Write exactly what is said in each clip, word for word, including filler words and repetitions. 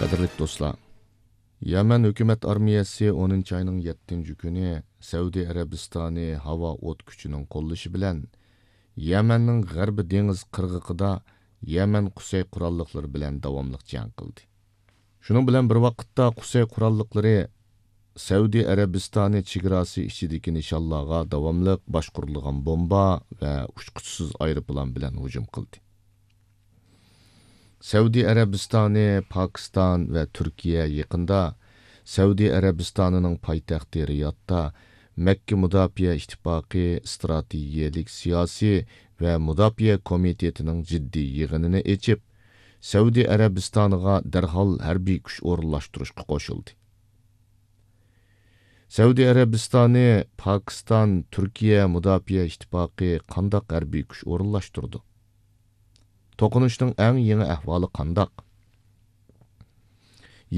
قەدىرلىك دوستلار، يەمەن ھۆكۈمەت ئارمىيەسى ئونىنچى ئاينىڭ يەتتىنچى كۈنى سەئۇدى ئەرەبىستانى ھاۋا ئوت كۈچىنىڭ قوللىشى بىلەن يەمەننىڭ غەربىي دېڭىز قىرغىقىدا يەمەن قۇسەي قوراللىقلىرى بىلەن داۋاملىق جەڭ قىلدى. شۇنىڭ بىلەن بىر ۋاقىتتا، قۇسەي قوراللىقلىرى سەئۇدى ئەرەبىستانى چېگراسى ئىچىدىكى نىشانلارغا داۋاملىق باشقۇرۇلغان بومبا ۋە ئۇچقۇچىسىز ئايروپىلان بىلەن ھۇجۇم قىلدى. سەئۇدى ئەرەبىستانى، پاكىستان ۋە تۈركىيە يېقىندا سەئۇدى ئەرەبىستانىنىڭ پايتەختى رىيادتا مەككە مۇداپىئە ئىتتىپاقى ئىستراتېگىيەلىك سىياسىي ۋە مۇداپىئە كومىتېتىنىڭ جىددىي يىغىنىنى ئېچىپ، سەئۇدى ئەرەبىستانىغا دەرھال ھەربىي كۈچ ئورۇنلاشتۇرۇشقا قوشۇلدى. سەئۇدى ئەرەبىستانى، پاكىستان، تۈركىيە مۇداپىئە ئىتتىپاقى قانداق ھەربىي كۈچ ئورۇنلاشتۇرىدۇ؟ توقۇنۇشنىڭ ئەڭ يېڭى ئەھۋالى قانداق؟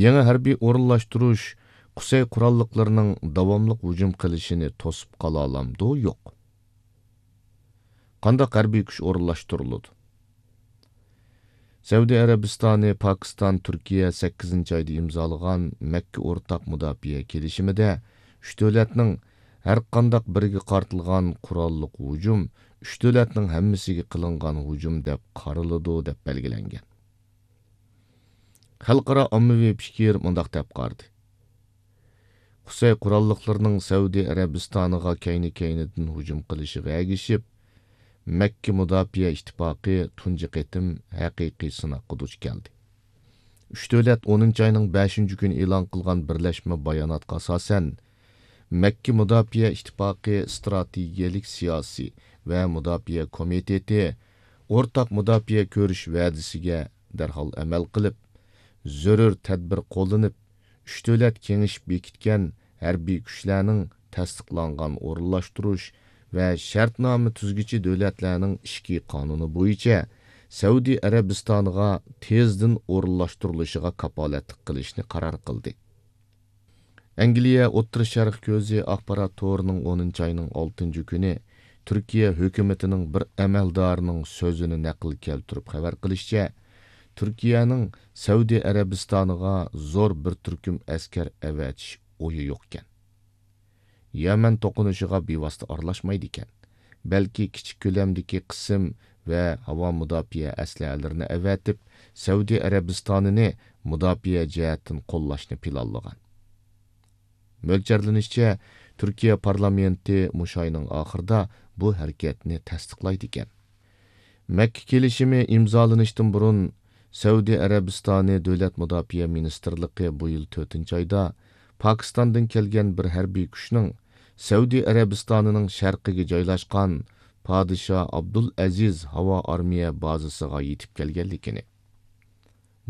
يېڭى ھەربىي ئورۇنلاشتۇرۇش قۇسەي قوراللىقلىرىنىڭ داۋاملىق ھۇجۇم قىلىشىنى توسۇپ قالالامدۇ؟ يوق. قانداق ھەربىي كۈچ ئورۇنلاشتۇرۇلىدۇ؟ سەئۇدى ئەرەبىستانى، پاكىستان، تۈركىيە سەككىزىنچى ئايدا ئىمزالىغان مەككە ئورتاق مۇداپىئە كېلىشىمىدە ئۈچ دۆلەتنىڭ ھەرقانداق بىرىگە قارىتىلغان قوراللىق ھۇجۇم ئۈچ دۆلەتنىڭ ھەممىسىگە قىلىنغان ھۇجۇم دەپ قارىلىدۇ، دەپ بەلگىلەنگەن. خەلقئارا ئاممىۋى پىكىر مۇنداق دەپ قارىدى: قۇسەي قوراللىقلىرىنىڭ سەئۇدى ئەرەبىستانىغا كەينى-كەينىدىن ھۇجۇم قىلىشىغا ئەگىشىپ، مەككە مۇداپىئە ئىتتىپاقى تۇنجى قېتىم ھەقىقىي سىناققا دۇچ كەلدى. ئۈچ دۆلەت ئونىنچى ئاينىڭ بەشىنچى كۈنى ئېلان قىلغان بىرلەشمە باياناتقا ئاساسەن، مەككە مۇداپىئە ئىتتىپاقى ئىستراتېگىيەلىك سىياسىي ۋە مۇداپىئە كومىتېتى ئورتاق مۇداپىئە كۆرۈش ۋەدىسىگە دەرھال ئەمەل قىلىپ، زۆرۈر تەدبىر قوللىنىپ، ئۈچ دۆلەت كېڭىشىپ بېكىتكەن ھەربىي كۈچلەرنىڭ تەستىقلانغان ئورۇنلاشتۇرۇش ۋە شەرتنامە تۈزگۈچى دۆلەتلەرنىڭ ئىچكى قانۇنى بويىچە سەئۇدى ئەرەبىستانىغا تېزدىن ئورۇنلاشتۇرۇلۇشىغا كاپالەتلىك قىلىشنى قارار قىلدى. ئەنگلىيە ئوتتۇرا شەرق كۆزى ئاخبارات تورىنىڭ ئونىنچى ئاينىڭ ئالتىنچى كۈنى تۈركىيە ھۆكۈمىتىنىڭ بىر ئەمەلدارىنىڭ سۆزىنى نەقىل كەلتۈرۈپ خەۋەر قىلىشىچە، تۈركىيەنىڭ سەئۇدى ئەرەبىستانىغا زور بىر تۈركۈم ئەسكەر ئەۋەتىش ئويى يوقكەن. يەمەن توقۇنۇشىغا بىۋاسىتە ئارىلاشمايدىكەن، بەلكى كىچىك كۆلەمدىكى قىسىم ۋە ھاۋا مۇداپىئە ئەسلىھەلىرىنى ئەۋەتىپ، سەئۇدى ئەرەبىستانىنى مۇداپىئە جەھەتتىن قوللاشنى پىلانلىغان. مۆلچەرلىنىشىچە، تۈركىيە پارلامېنتى مۇشۇ ئاينىڭ ئاخىرىدا بۇ ھەرىكەتنى تەستىقلايدىكەن. مەككە كېلىشىمى ئىمزالىنىشتىن بۇرۇن، سەئۇدى ئەرەبىستانى دۆلەت مۇداپىئە مىنىستىرلىقى بۇ يىل تۆتىنچى ئايدا پاكىستاندىن كەلگەن بىر ھەربىي كۈچنىڭ سەئۇدى ئەرەبىستانىنىڭ شەرقىگە جايلاشقان پادىشاھ ئابدۇلئەزىز ھاۋا ئارمىيە بازىسىغا يېتىپ كەلگەنلىكىنى،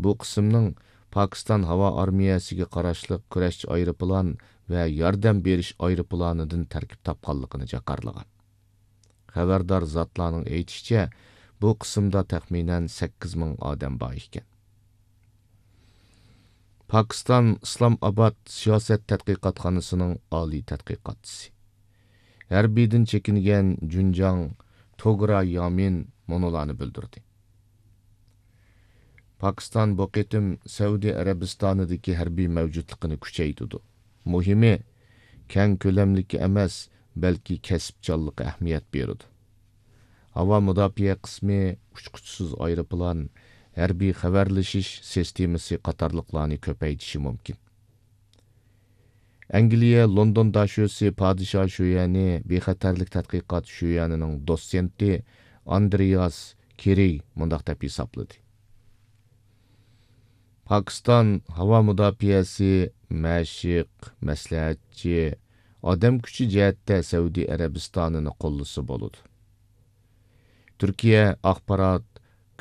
بۇ قىسىمنىڭ پاكىستان ھاۋا ئارمىيەسىگە قاراشلىق كۈرەشچى ئايروپىلان ۋە ياردەم بېرىش ئايروپىلانىدىن تەركىب تاپقانلىقىنى جاكارلىغان. خەۋەردار زاتلارنىڭ ئېيتىشىچە، بۇ قىسىمدا تەخمىنەن سەككىز مىڭ ئادەم بار ئىكەن. پاكىستان ئىسلام ئاباد سىياسەت تەتقىقاتخانىسىنىڭ ئالىي تەتقىقاتچىسى، ھەربىيدىن چېكىنگەن جۇنجاڭ توگرا يامىن مۇنۇلارنى بىلدۈردى: پاكىستان بۇ قېتىم سەئۇدى ئەرەبىستانىدىكى ھەربىي مەۋجۇتلۇقىنى كۈچەيتىدۇ. مۇھىمى، كەڭ كۆلەملىككە ئەمەس، بەلكى كەسىپچانلىققا ئەھمىيەت بېرىدۇ. ھاۋا مۇداپىئە قىسمى، ئۇچقۇچىسىز ئايروپىلان، ھەربىي خەۋەرلىشىش سىستېمىسى قاتارلىقلارنى كۆپەيتىشى مۇمكىن. ئەنگلىيە لوندون داشۆسى پادىشاھ شۆيەنى بىخەتەرلىك تەتقىقات شۆيەنىنىڭ دوتسېنتى ئاندرېياس كېرېي مۇنداق دەپ ھېسابلىدى: پاكىستان ھاۋا مۇداپىئەسى مەشىق، مەسلىھەتچى، ئادەم كۈچى جەھەتتە سەئۇدى ئەرەبىستانىنى قوللىسا بولىدۇ. تۈركىيە ئاخبارات،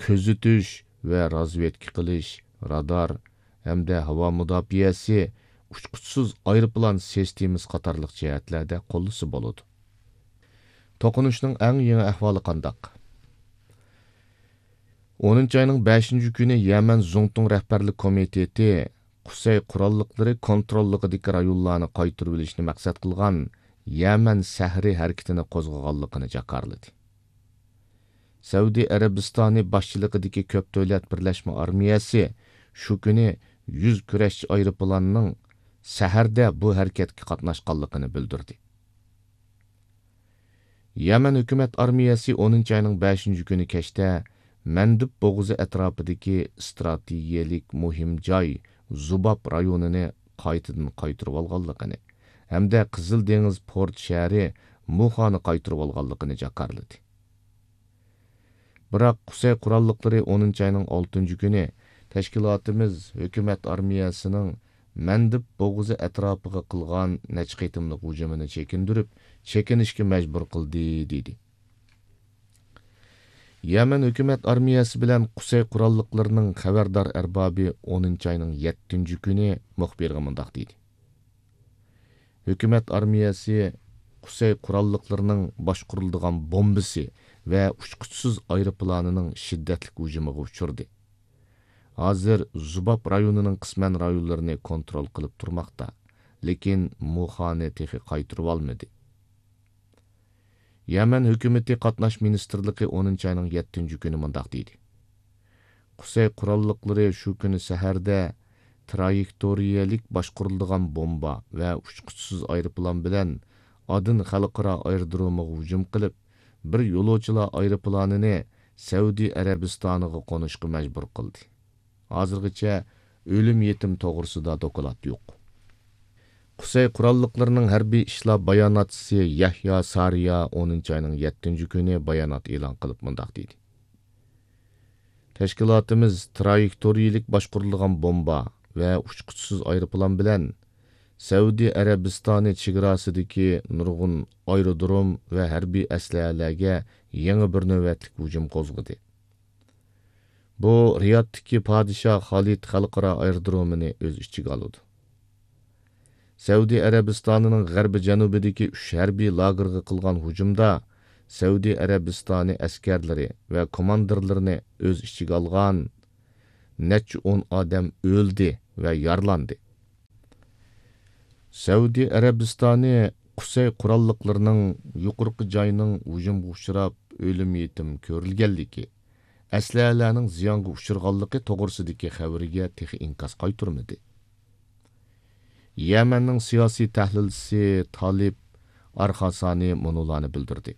كۆزىتىش ۋە رازۋېدكا قىلىش، رادار ھەمدە ھاۋا مۇداپىئەسى، ئۇچقۇچىسىز ئايروپىلان سىستېمىسى قاتارلىق جەھەتلەردە قوللىسا بولىدۇ. توقۇنۇشنىڭ ئەڭ يېڭى ئەھۋالى قانداق؟ ئونىنچى ئاينىڭ بەشىنچى كۈنى يەمەن زۇڭتۇڭ رەھبەرلىك كومىتېتى قۇسەي قوراللىقلىرى كونتروللۇقىدىكى رايونلارنى قايتۇرۇۋېلىشنى مەقسەت قىلغان يەمەن سەھىرى ھەرىكىتىنى قوزغىغانلىقىنى جاكارلىدى. سەئۇدى ئەرەبىستانى باشچىلىقىدىكى كۆپ دۆلەت بىرلەشمە ئارمىيەسى شۇ كۈنى يۈز كۈرەشچى ئايروپىلانىنىڭ سەھەردە بۇ ھەرىكەتكە قاتناشقانلىقىنى بىلدۈردى. يەمەن ھۆكۈمەت ئارمىيەسى ئونىنچى ئاينىڭ بەشىنچى كۈنى كەچتە مەندىب بوغۇزى ئەتراپىدىكى ئىستراتېگىيەلىك مۇھىم جاي زۇباب رايونىنى قايتىدىن قايتۇرۇۋالغانلىقىنى ھەمدە قىزىل دېڭىز پورت شەھىرى مۇخانى قايتۇرۇۋالغانلىقىنى جاكارلىدى. بىراق قۇسەي قوراللىقلىرى ئونىنچى ئاينىڭ ئالتىنچى كۈنى تەشكىلاتىمىز ھۆكۈمەت ئارمىيەسىنىڭ مەندىب بوغۇزى ئەتراپىغا قىلغان نەچچە قېتىملىق ھۇجۇمىنى چېكىندۈرۈپ، چېكىنىشكە مەجبۇر قىلدى، دېدى. يەمەن ھۆكۈمەت ئارمىيەسى بىلەن قۇسەي قوراللىقلىرىنىڭ خەۋەردار ئەربابى ئونىنچى ئاينىڭ يەتتىنچى كۈنى مۇخبىرغا مۇنداق دېدى: ھۆكۈمەت ئارمىيەسى قۇسەي قوراللىقلىرىنىڭ باشقۇرۇلىدىغان بومبىسى ۋە ئۇچقۇچىسىز ئايروپىلانىنىڭ شىددەتلىك ھۇجۇمىغا ئۇچرىدى. ھازىر زۇباب رايونىنىڭ قىسمەن رايونلىرىنى كونترول قىلىپ تۇرماقتا، لېكىن مۇخانى تېخى قايتۇرۇۋالمىدى. يەمەن ھۆكۈمىتى قاتناش مىنىستىرلىقى ئونىنچى ئاينىڭ يەتتىنچى كۈنى مۇنداق دېدى: قۇسەي قوراللىقلىرى شۇ كۈنى سەھەردە ترايېكتورىيەلىك باشقۇرۇلىدىغان بومبا ۋە ئۇچقۇچىسىز ئايروپىلان بىلەن ئادېن خەلقئارا ئايرودرومىغا ھۇجۇم قىلىپ، بىر يولۇچىلار ئايروپىلانىنى سەئۇدى ئەرەبىستانىغا قونۇشقا مەجبۇر قىلدى. ھازىرغىچە ئۆلۈم يېتىم توغرىسىدا دوكلات يوق. قۇسەي قوراللىقلىرىنىڭ ھەربىي ئىشلار باياناتچىسى يەھيا سارىيا ئونىنچى ئاينىڭ يەتتىنچى كۈنى بايانات ئېلان قىلىپ مۇنداق دېدى: تەشكىلاتىمىز ترايېكتورىيىلىك باشقۇرۇلىدىغان بومبا ۋە ئۇچقۇچىسىز ئايروپىلان بىلەن سەئۇدى ئەرەبىستانى چېگراسىدىكى نۇرغۇن ئايرودروم ۋە ھەربىي ئەسلىھەلەرگە يېڭى بىر نۆۋەتلىك ھۇجۇم قوزغىدى. بۇ رىيادتىكى پادىشاھ خالىد خەلقئارا ئايرودرومىنى ئۆز ئىچىگە ئالىدۇ. سەئۇدى ئەرەبىستانىنىڭ غەربىي جەنۇبىدىكى ئۈچ ھەربىي لاگېرغا قىلغان ھۇجۇمدا سەئۇدى ئەرەبىستانى ئەسكەرلىرى ۋە كوماندىرلىرىنى ئۆز ئىچىگە ئالغان نەچچە ئون ئادەم ئۆلدى ۋە يارىلاندى. سەئۇدى ئەرەبىستانى قۇسەي قوراللىقلىرىنىڭ يۇقىرىقى جاينىڭ ھۇجۇمغا ئۇچراپ، ئۆلۈم يېتىم كۆرۈلگەنلىكى، ئەسلىھەلەرنىڭ زىيانغا ئۇچرىغانلىقى توغرىسىدىكى خەۋىرىگە تېخى ئىنكاس قايتۇرمىدى. يەمەننىڭ سىياسىي تەھلىلچىسى تالىپ ئارخاسانى مۇنۇلارنى بىلدۈردى: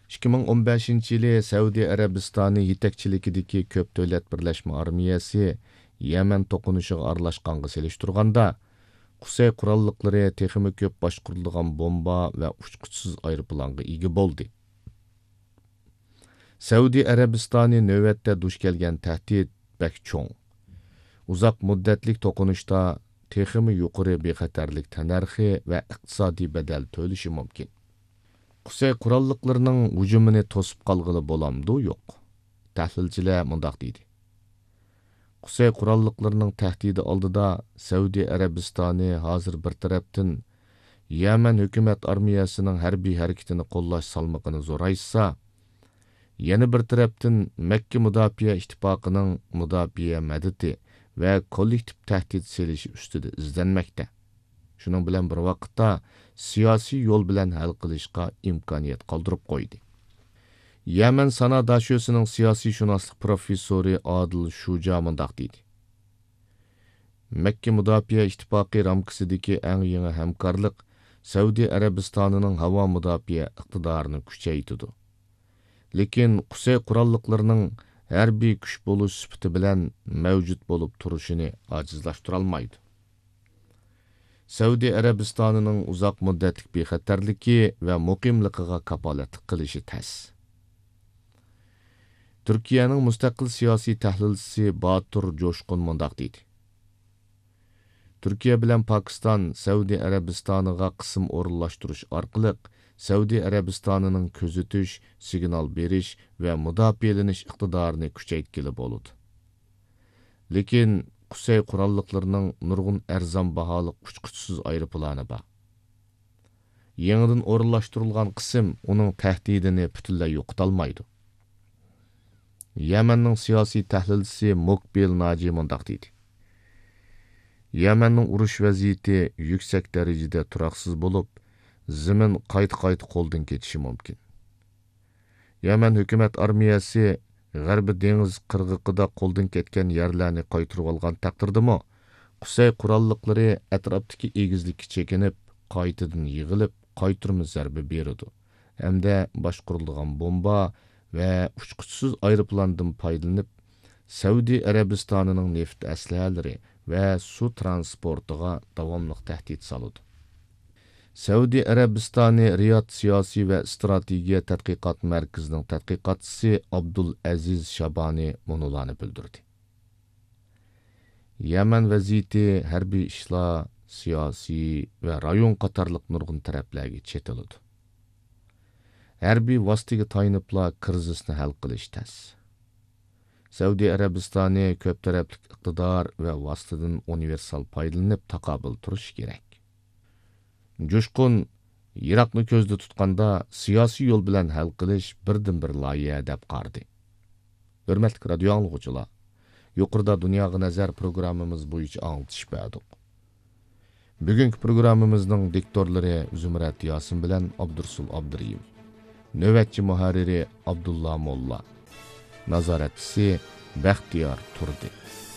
ئىككى مىڭ ئون بەشىنچى يىلى سەئۇدى ئەرەبىستانى يېتەكچىلىكىدىكى كۆپ دۆلەت بىرلەشمە ئارمىيەسى يەمەن توقۇنۇشىغا ئارىلاشقانغا سېلىشتۇرغاندا، قۇسەي قوراللىقلىرى تېخىمۇ كۆپ باشقۇرۇلىدىغان بومبا ۋە ئۇچقۇچىسىز ئايروپىلانغا ئىگە بولدى. سەئۇدى ئەرەبىستانى نۆۋەتتە دۇچ كەلگەن تەھدىت بەك چوڭ. ئۇزاق مۇددەتلىك توقۇنۇشتا تېخىمۇ يۇقىرى بىخەتەرلىك تەننەرخى ۋە ئىقتىسادىي بەدەل تۆلىشى مۇمكىن. قۇسەي قوراللىقلىرىنىڭ ھۇجۇمىنى توسۇپ قالغىلى بولامدۇ؟ يوق. تەھلىلچىلەر مۇنداق دېدى: قۇسەي قوراللىقلىرىنىڭ تەھدىتى ئالدىدا سەئۇدى ئەرەبىستانى ھازىر بىر تەرەپتىن يەمەن ھۆكۈمەت ئارمىيەسىنىڭ ھەربىي ھەرىكىتىنى قوللاش سالمىقىنى زورايتسا، يەنە بىر تەرەپتىن مەككە مۇداپىئە ئىتتىپاقىنىڭ مۇداپىئە مەدىتى ۋە كوللېكتىپ تەھدىت سېلىشى ئۈستىدە ئىزدەنمەكتە. شۇنىڭ بىلەن بىر ۋاقىتتا، سىياسىي يول بىلەن ھەل قىلىشقا ئىمكانىيەت قالدۇرۇپ قويدى. يەمەن سانا داشۆسىنىڭ سىياسىي شۇناسلىق پروفېسسورى ئادىل شۇجا مۇنداق دېدى: مەككە مۇداپىئە ئىتتىپاقى رامكىسىدىكى ئەڭ يېڭى ھەمكارلىق سەئۇدى ئەرەبىستانىنىڭ ھاۋا مۇداپىئە ئىقتىدارىنى كۈچەيتىدۇ. لېكىن قۇسەي قوراللىقلىرىنىڭ ھەربىي كۈچ بولۇش سۈپىتى بىلەن مەۋجۇت بولۇپ تۇرۇشىنى ئاجىزلاشتۇرالمايدۇ. سەئۇدى ئەرەبىستانىنىڭ ئۇزاق مۇددەتلىك بىخەتەرلىكى ۋە مۇقىملىقىغا كاپالەتلىك قىلىشى تەس. تۈركىيەنىڭ مۇستەقىل سىياسىي تەھلىلچىسى باتۇر جوشقۇن مۇنداق دېدى: تۈركىيە بىلەن پاكىستان سەئۇدى ئەرەبىستانىغا قىسىم ئورۇنلاشتۇرۇش ئارقىلىق سەئۇدى ئەرەبىستانىنىڭ كۆزىتىش، سىگنال بېرىش ۋە مۇداپىئەلىنىش ئىقتىدارىنى كۈچەيتكىلى بولىدۇ. لېكىن قۇسەي قوراللىقلىرىنىڭ نۇرغۇن ئەرزان باھالىق ئۇچقۇچىسىز ئايروپىلانى بار. يېڭىدىن ئورۇنلاشتۇرۇلغان قىسىم ئۇنىڭ تەھدىتىنى پۈتۈنلەي يوقىتالمايدۇ. يەمەننىڭ سىياسىي تەھلىلچىسى مۇقبىل ناجى مۇنداق دېدى: يەمەننىڭ ئۇرۇش ۋەزىيىتى يۈكسەك دەرىجىدە تۇراقسىز بولۇپ، زېمىن قايتا-قايتا قولدىن كېتىشى مۇمكىن. يەمەن ھۆكۈمەت ئارمىيەسى غەربىي دېڭىز قىرغىقىدا قولدىن كەتكەن يەرلەرنى قايتۇرۇۋالغان تەقدىردىمۇ، قۇسەي قوراللىقلىرى ئەتراپتىكى ئېگىزلىككە چېكىنىپ، قايتىدىن يىغىلىپ، قايتۇرما زەربە بېرىدۇ ھەمدە باشقۇرۇلىدىغان بومبا ۋە ئۇچقۇچىسىز ئايروپىلاندىن پايدىلىنىپ، سەئۇدى ئەرەبىستانىنىڭ نېفىت ئەسلىھەلىرى ۋە سۇ ترانسپورتىغا داۋاملىق تەھدىت سالىدۇ. سەئۇدى ئەرەبىستانى رىياد سىياسىي ۋە ئىستراتېگىيە تەتقىقات مەركىزىنىڭ تەتقىقاتچىسى ئابدۇل ئەزىز شابانى مۇنۇلارنى بىلدۈردى: يەمەن ۋەزىيىتى ھەربىي ئىشلار، سىياسىي ۋە رايون قاتارلىق نۇرغۇن تەرەپلەرگە چېتىلىدۇ. ھەربىي ۋاسىتىگە تايىنىپلا كىرىزىسنى ھەل قىلىش تەس. سەئۇدى ئەرەبىستانى كۆپ تەرەپلىك ئىقتىدار ۋە ۋاسىتىدىن ئۇنىۋېرسال پايدىلىنىپ تاقابىل تۇرۇشى كېرەك. جۇشقۇن يىراقنى كۆزدە تۇتقاندا سىياسىي يول بىلەن ھەل قىلىش بىردىنبىر لايىھە دەپ قارىدى. ھۆرمەتلىك رادىيو ئاڭلىغۇچىلار، يۇقىرىدا دۇنياغا نەزەر پروگراممىمىز بويىچە ئاڭلىتىش بەردۇق. بۈگۈنكى پروگراممىمىزنىڭ دىكتورلىرى زۇمرەت ياسىن بىلەن ئابدۇرۇسۇل ئابدۇرېھىم. نۆۋەتچى مۇھەررىرى ئابدۇللا موللا. نازارەتچىسى بەختىيار تۇردى.